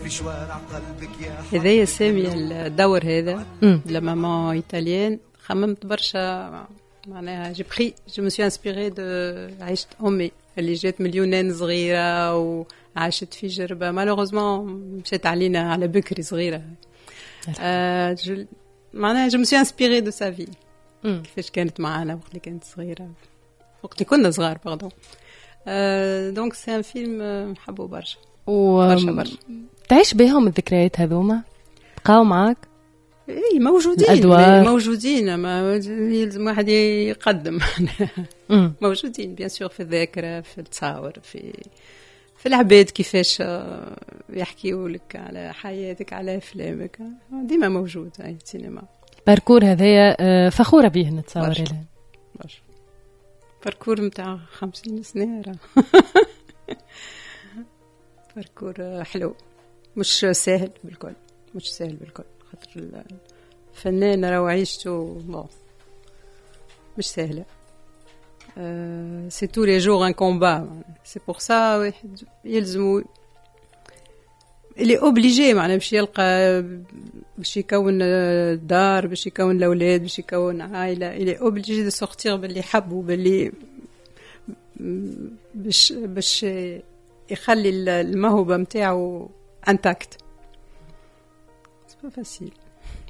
في شوارع قلبك يا هذايا سامي الدور هذا la maman italienne، خممت برشا، معناها j'ai pris je me suis inspirée de عيشة امي اللي جات من اليونان صغيرة وعاشت في جربه، malheureusement مشات علينا على بكري صغيره. معناها je me suis inspirée de sa vie، كيفاش كانت معنا وقت اللي كانت صغيره، وقت اللي كنا صغار، pardon. donc c'est un film نحبه برشا. برشا برشا. تعيش بهم الذكريات هذوما؟ بقاو معاك؟ اي، موجودين. الأدوار. موجودين، ما يلزم واحد يقدم. موجودين bien sûr، في الذاكره، في التصاور، في العباد كيفاش يحكيوا لك على حياتك، على افلامك. ديما موجود اي السينما. parcours هذايا فخورة به نتصور. برشا. إلين. برشا، parcours نتاع 50 سنة راه parcours حلو، مش ساهل بالكل، مش ساهل بالكل، خاطر الفنان راهو عيشته bon مش سهلة. c'est tous les jours un combat، c'est pour ça واحد يلزمو il est obligé معناها باش يلقى، باش يكون دار، باش يكون الاولاد، باش يكون عائله، il est obligé de sortir باللي حبوا، باللي باش يخلي الموهبة نتاعو intacte. c'est pas facile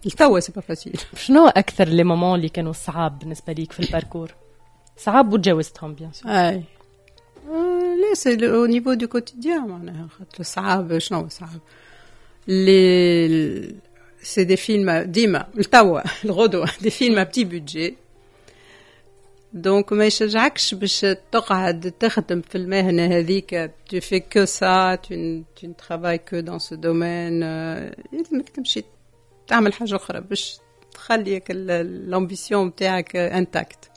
لتوا، c'est pas facile. شنو اكثر les moments اللي كانوا صعاب بالنسبة ليك في ال parcours؟ صعاب وتجاوزتهم bien sûr. اي، لا، c'est au niveau du quotidien معناها، خاطر صعاب، شنو صعب؟ les c'est des films ديما لتوا الغدوه des films à petit budget، donc ما يشجعكش باش تقعد تخدم في المهنة هذيك، tu fais que ça، tu ne travailles que dans ce domaine. يلزمك تمشي تعمل حاجة أخرى باش تخليك l'ambition نتاعك intacte.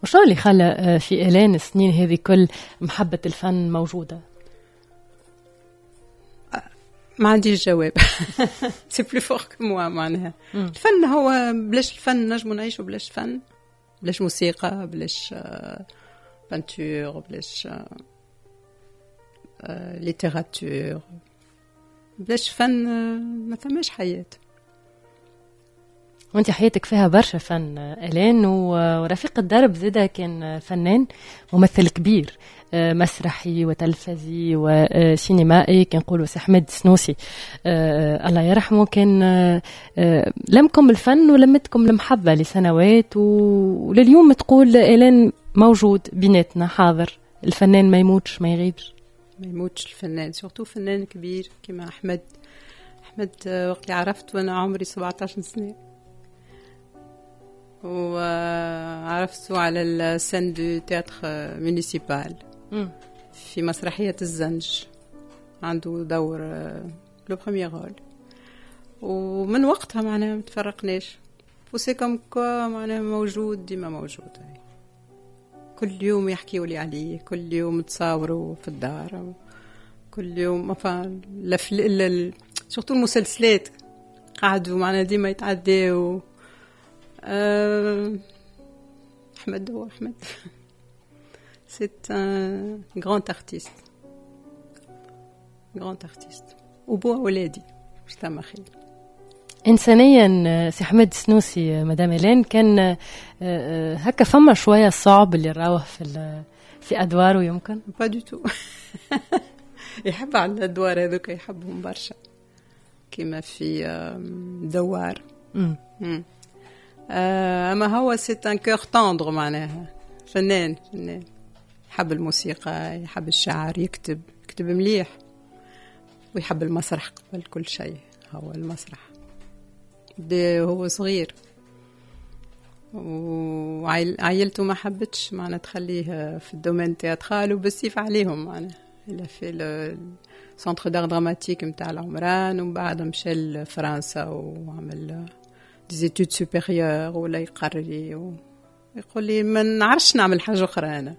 وشنو اللي خلى في إلين السنين هذه كل محبة الفن موجودة؟ ما عنديش جواب، c'est plus fort que moi. معناها الفن هو، بلاش الفن نجمو نعيشو؟ بلاش فن، بلاش موسيقى، بلاش peinture، بلاش littérature، بلاش فن ما ثماش حياة. وانت حياتك فيها برشا فن الين، ورفيق الدرب زاده كان فنان، ممثل كبير مسرحي وتلفزي وسينمائي، كان نقولوا سي احمد السنوسي الله يرحمه، كان لمكم الفن ولمتكم المحبة لسنوات، ولليوم تقول الين موجود بيناتنا، حاضر. الفنان ما يموتش، ما يغيبش. ما يموتش الفنان، surtout فنان كبير كما احمد. احمد وقت اللي عرفت وانا عمري 17 سنه، وعرفته على ال scène du théâtre municipal في مسرحية الزنج، عنده دور le premier rôle، ومن وقتها معناها ما تفرقناش، و c'est comme quoi معناها موجود، ديما موجود. كل يوم يحكيوا لي عليه، كل يوم تصاوروا في الدار، كل يوم enfin surtout المسلسلات قعدوا معنا ديما يتعداو. أحمد هو أحمد، c'est un grand artiste، grand artiste، وبو أولادي، مش ثم خير. انسانيا سي احمد سنوسي، مدام الين، كان هكا فما شوية صعب اللي راوه في ادواره يمكن؟ pas du tout، يحب على الادوار هذوك، يحبهم برشا، كيما في دوار. اما هو c'est un cœur tendre، معناها فنان فنان، يحب الموسيقى، يحب الشعر، يكتب، يكتب مليح، ويحب المسرح قبل كل شيء. هو المسرح بدا هو صغير، وعائلته ما حبتش معنا تخليه في ال domaine théâtral، وبالسيف عليهم معنا il a fait le centre d'art dramatique نتاع العمران، ومن بعد مشى لفرنسا وعمل des études supérieures، ولا يقري. يقول لي ما نعرفش نعمل حاجة أخرى أنا،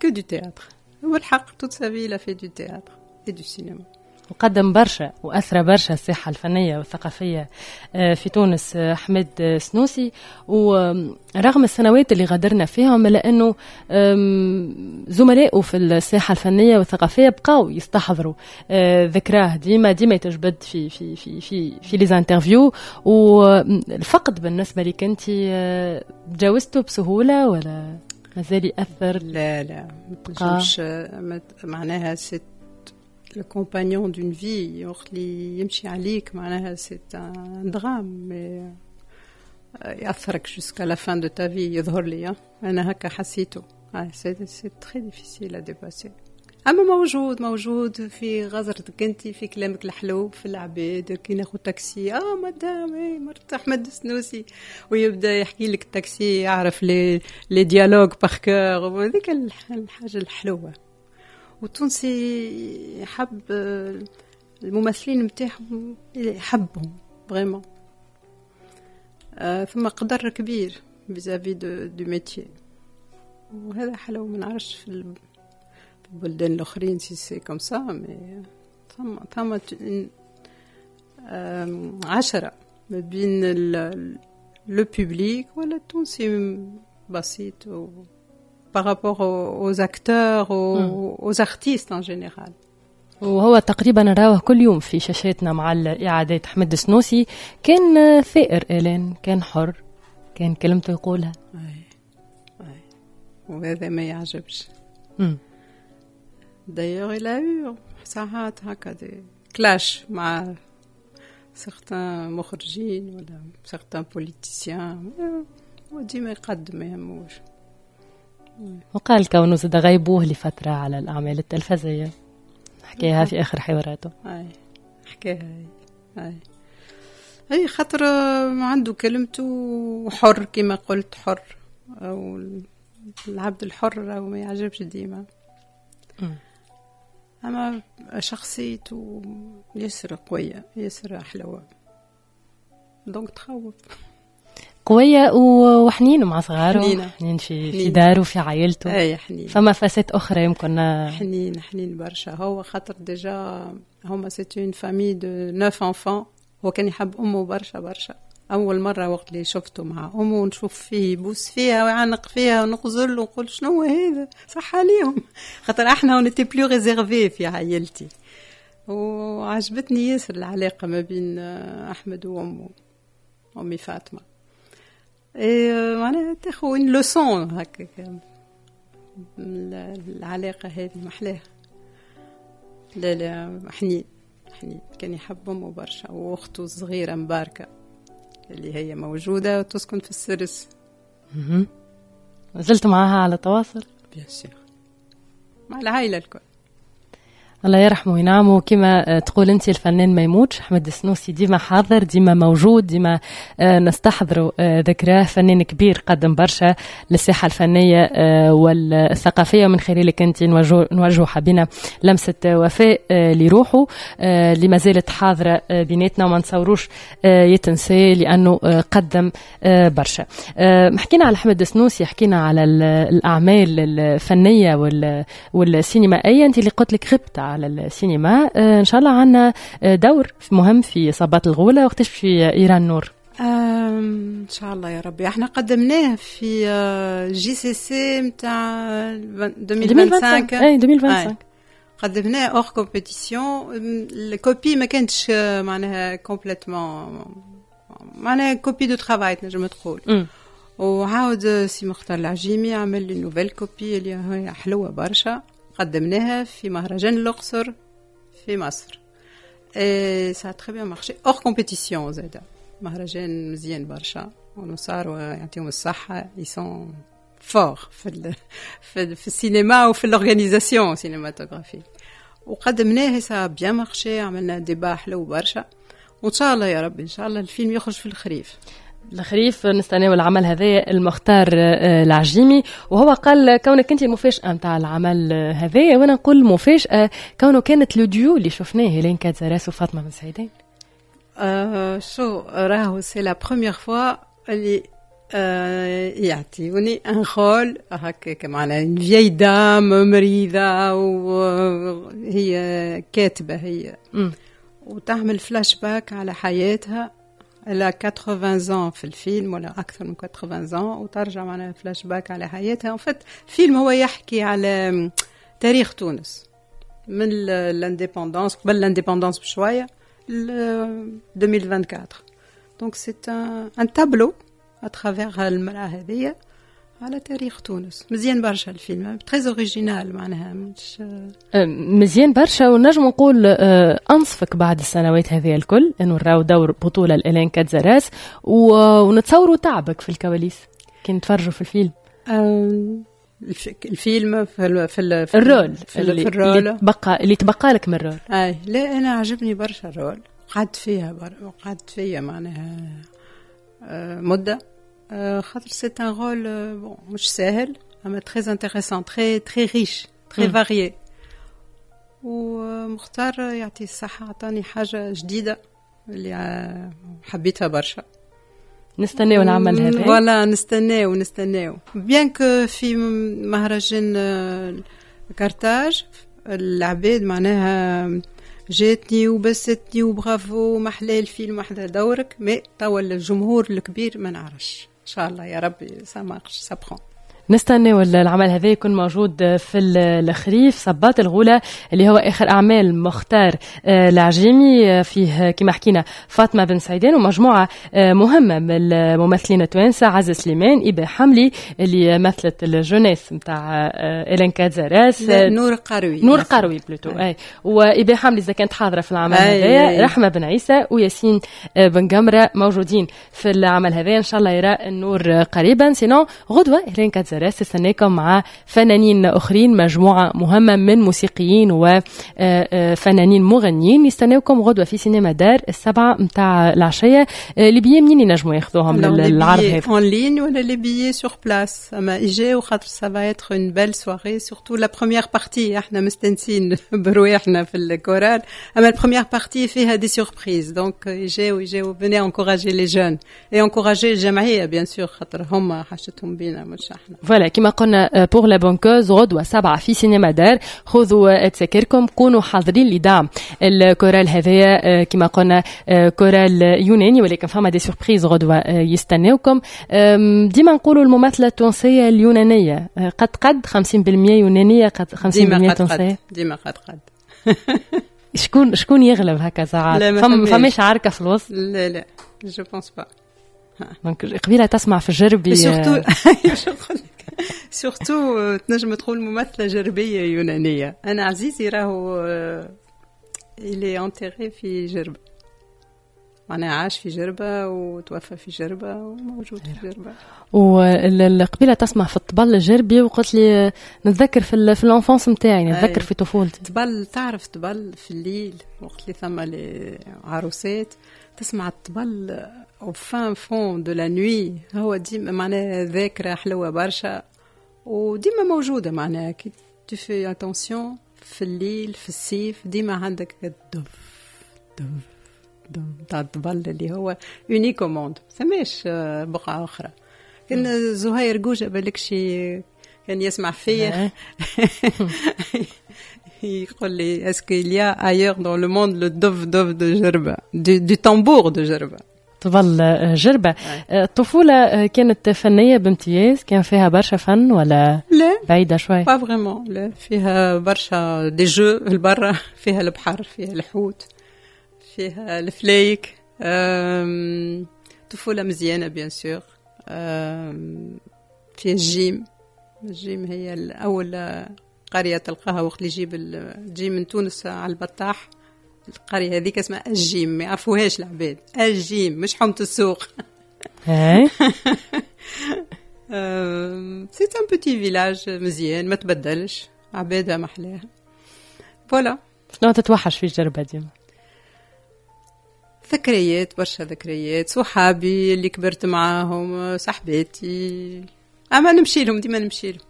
que du théâtre. والحق toute sa vie il a fait du théâtre et du cinéma. وقدم برشا وأثرى برشا الساحة الفنية والثقافية في تونس أحمد سنوسي. ورغم السنوات اللي غادرنا فيهم، إلا أنه زملائه في الساحة الفنية والثقافية بقاو يستحضروا ذكراه، ديما ديما يتجبد في les interviews. والفقد بالنسبة لك أنت تجاوزته بسهولة ولا مازال يأثر؟ لا لا، مش معناها c'est le compagnon d'une vie، وقت اللي يمشي عليك معناها c'est un drame يأثرك jusqu'à la fin de ta vie. يظهر لي أنا هكا حسيته، c'est très difficile à dépasser. اما موجود، موجود في غزرتك انت، في كلامك الحلو، في العباد. كي ناخذ تاكسي: اه مدام، اي مرت احمد السنوسي، ويبدا يحكي لك التاكسي، يعرف les dialogues par cœur. وهذيك الحاجة الحلوه. والتونسي يحب الممثلين نتاعهم، يحبهم vraiment. ثم قدر كبير vis-à-vis du métier، وهذا حلو. ما نعرفش في البلدان الاخرين si c'est comme ça، mais ثم عشرة ما بين le public ولا التونسي بسيط par rapport aux acteurs، aux artistes en général. وهو تقريبا نراه كل يوم في شاشاتنا مع الإعادات. أحمد السنوسي كان ثائر إلين، كان حر، كان كلمته يقولها. أي. وهذا ما يعجبش. D'ailleurs il a eu ساعات هكا des clashs مع certains مخرجين ولا certains politiciens، وديما يقدم، ما يهموش. وقال كونه زاد غيبوه لفترة على الأعمال التلفزية، حكاها في آخر حواراته. أي، حكاها. أي، خاطر عنده كلمته، حر كما قلت، حر. أو العبد الحر أو ما يعجبش ديما. أما شخصيته ياسر قوية، ياسر حلوة، donc تخوف. قوية وحنين مع صغاره. حنين، حنين في داره، في عائلته. اي، حنين. فما facettes أخرى يمكن. حنين، حنين برشا هو، خاطر déjà هما c'est une famille de neuf enfants. هو كان يحب أمه برشا برشا. أول مرة وقت اللي شفته مع أمه ونشوف فيه يبوس فيها ويعنق فيها ونغزر ونقول شنو هذا، صح عليهم، خاطر احنا on était plus réservés في عائلتي. وعجبتني ياسر العلاقة ما بين أحمد وأمه، أمي فاطمة. إيه، معناها تاخذ une leçon هكا العلاقة هذه محلاها. لا لا، حنين حنين، كان يحب أمه برشا وأخته الصغيرة مباركة اللي هي موجودة وتسكن في السرس. زلت معاها على تواصل؟ bien sûr، مع العائلة الكل. الله يرحمه وينعمه. كما تقول انت، الفنان ما يموتش. احمد السنوسي ديما حاضر، ديما موجود، ديما نستحضروا ذكراه. فنان كبير قدم برشا للساحه الفنية والثقافيه، ومن خلالك انت نوجه حبينا لمسه وفاء لروحه اللي ما زالت حاضره بيناتنا، وما نتصوروش يتنسى لانه قدم برشا. حكينا على احمد السنوسي، حكينا على الاعمال الفنية والسينمائيه. انت اللي قلت لك غبت على السينما، ان شاء الله عندنا دور مهم في صباط الغوله، وقتاش في يرى النور؟ ان شاء الله يا ربي. احنا قدمناه في JCC نتاع 2025. اي، 2025. قدمناه hors compétition. ال copie ما كانتش معناها complètement، معناها copie de travail تنجم تقول. وعاود سي مختار العجيمي عمل لي nouvelle copie اللي هي حلوة برشا، قدمناها في مهرجان الأقصر في مصر. et ça a très bien marché hors compétition زادا. مهرجان مزيان برشا، ونصار يعطيهم الصحة، ils sont forts في السينما وفي l'organisation cinématographique. وقدمناه، ça a bien marché، عملنا débat حلو برشا. وان شاء الله يا رب، ان شاء الله الفيلم يخرج في الخريف. الخريف نستناو العمل هذا، المختار العجيمي. وهو قال كونك انت المفاجاة نتاع العمل هذا، وانا نقول مفاجاة كونه كانت le duo اللي شفناه، هيلين كاتزاراس وفاطمة بن سعيدان. شو راهو c'est la première fois اللي يعطيوني un rôle هكاك معناها une vieille dame مريضه، وهي كاتبه هي وتعمل فلاش باك على حياتها. elle a 80 ans في الفيلم ولا اكثر من 80 ans، وترجع معناها فلاش باك على حياتها. en fait الفيلم هو يحكي على تاريخ تونس من l'indépendance، قبل l'indépendance بشويه، 2024. donc c'est un tableau à travers المرأة هذية على تاريخ تونس. مزيان برشا الفيلم، très original معناها مش مزيان برشا. ونجم نقول انصفك بعد السنوات هذه الكل انه نراو دور بطوله لإلين كاتزاراس، ونتصوروا تعبك في الكواليس كي نتفرجوا في الفيلم. الفيلم في في ال rôle في ال rôle اللي تبقى لك من ال rôle. اي لا، انا عجبني برشا ال rôle، قعدت فيها معناها مده، خاطر c'est un rôle bon مش ساهل اما très intéressant، très très riche، très varié. ومختار يعطيه الصحة عطاني حاجة جديدة اللي حبيتها برشا. نستناو العمل هذا. voilà، نستناو نستناو، bien que في مهرجان كارتاج العباد معناها جاتني وبستني وبرافو، محلى الفيلم، محلى دورك، mais توا الجمهور الكبير ما نعرفش. ان شاء الله يا ربي ça marche، ça prend. نستناو العمل هذا يكون موجود في الخريف. صباط الغولة اللي هو آخر أعمال مختار العجيمي، فيه كما حكينا فاطمة بن سعيدان ومجموعة مهمة من الممثلين التوانسة، عزة سليمان، إبا حملي اللي مثلت ال jeunesse نتاع إلين كاتزاراس. نور قروي. نور قروي plutôt، اي. وإبا حملي إذا كانت حاضرة في العمل هذا، رحمة بن عيسى وياسين بن قمرة موجودين في العمل هذا. إن شاء الله يرى النور قريبا. sinon غدوة إلين كاتزاراس تستناكم مع فنانين اخرين، مجموعة مهمة من موسيقيين وفنانين مغنيين يستناوكم غدوه في سينما دار 7 متاع العشيه. les billets منين ينجموا ياخذوهم للعرض هذا؟ en ligne ولا les billets sur place. اما يجيو خاطر ça va être une belle soirée، surtout la première partie. احنا مستنسين برواحنا في الكورال، اما ال première partie فيها des surprises، donc يجيو يجيو، venez encourager les jeunes et encourager الجمعية bien sûr، خاطر هما حاجتهم بينا مش احنا. voilà، كما قلنا pour la bonne cause، غدوة 7 في سينما دار. خذوا تساكركم، كونوا حاضرين لدعم الكورال هذايا. كما قلنا كورال يوناني ولكن فما des surprises غدوة يستناوكم. ديما نقولوا الممثلة التونسية اليونانية قد قد، 50% يونانية قد 50% تونسية. ديما قد قد. شكون يغلب هكا ساعات؟ فماش عركة في الوسط؟ لا لا، je pense pas. donc قبيلة تسمع في الجربي. surtout تنجم تقول ممثلة جربيه يونانيه. انا عزيزي راهو il est enterré في جربه، معناها عاش في جربة وتوفى في جربة وموجود في جربة. والقبيلة تسمع في الطبل الجربي وقلت لي نتذكر في l'enfance نتاعي، نتذكر في طفولتي. طبل، تعرف طبل في الليل وقت اللي ثم عروسات، تسمع الطبل au fin fond de la nuit. هو ديما معناها ذاكرة حلوة برشا وديما موجودة، معناها كي tu fais attention في الليل في الصيف ديما عندك الدف دف دف تاع الطبل اللي هو unique au monde، ثماش بقعة أخرى. كان زهير جوجة بالك شي كان يسمع فيا يقول لي est-ce qu'il y a ailleurs dans le monde le دف دف de جربة، du tambour de جربة؟ طبل جربة. الطفولة كانت فنية بامتياز؟ كان فيها برشا فن ولا لا؟ بعيدة شوي؟ pas vraiment، لا، فيها برشا des jeux البرا، فيها البحر، فيها الحوت، فيها الفلايك. طفولة مزيانة bien sûr، فيها الجيم. الجيم هي الأول قرية تلقاها وقت اللي تجي من تونس على البطاح. القرية هذيك اسمها الجيم، ما يعرفوهاش العباد، الجيم مش حومة السوق. c'est un petit village مزيان ما تبدلش، عبادها محلاها، voilà. شنو تتوحش في جربة ديما؟ ذكريات، برشا ذكريات، صحابي اللي كبرت معاهم، صاحباتي، اما نمشي لهم، ديما نمشي لهم.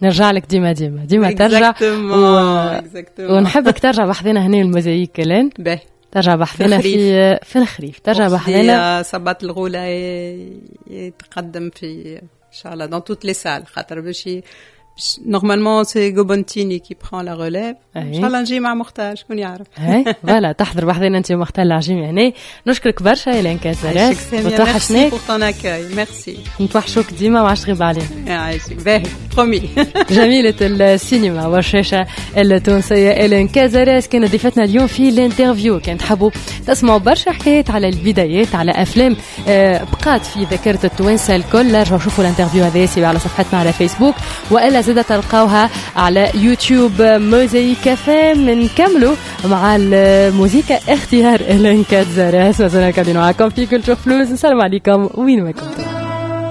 نرجع لك ديما ديما ديما ترجع ونحبك ترجع بحذنا هنا الموزايك كلان. باهي. ترجع بحذنا في الخريف، ترجع بحذنا. صباط الغولة يتقدم في ان شاء الله dans toutes les salles، خاطر باش normalement c'est Gobontini qui prend la relève. ان شاء الله نجي مع مختار، شكون يعرف. اي voilà، تحضر بحذنا انت ومختار العجيمي هنا. نشكرك برشا إلين كازاراس. وتوحشناك. pour ton accueil، merci. نتوحشوك ديما وعاش تغيب علينا. يعيشك، باهي، promis. جميلة السينما والشاشة التونسية إلين كازاراس كانت ضيفتنا اليوم في l'interview. كان تحبوا تسمعوا برشا حكايات على البدايات، على أفلام بقات في ذاكرة التوانسة الكل، رجعوا شوفوا l'interview هذا على صفحتنا على فيسبوك، وإلا زاد تلقاوها على يوتيوب موزايك FM. نكملوا مع الموزيكا اختيار إلين كاتزاراس. مازلنا قاعدين معاكم في Culture Plus. نسلم عليكم وين ما كنتم.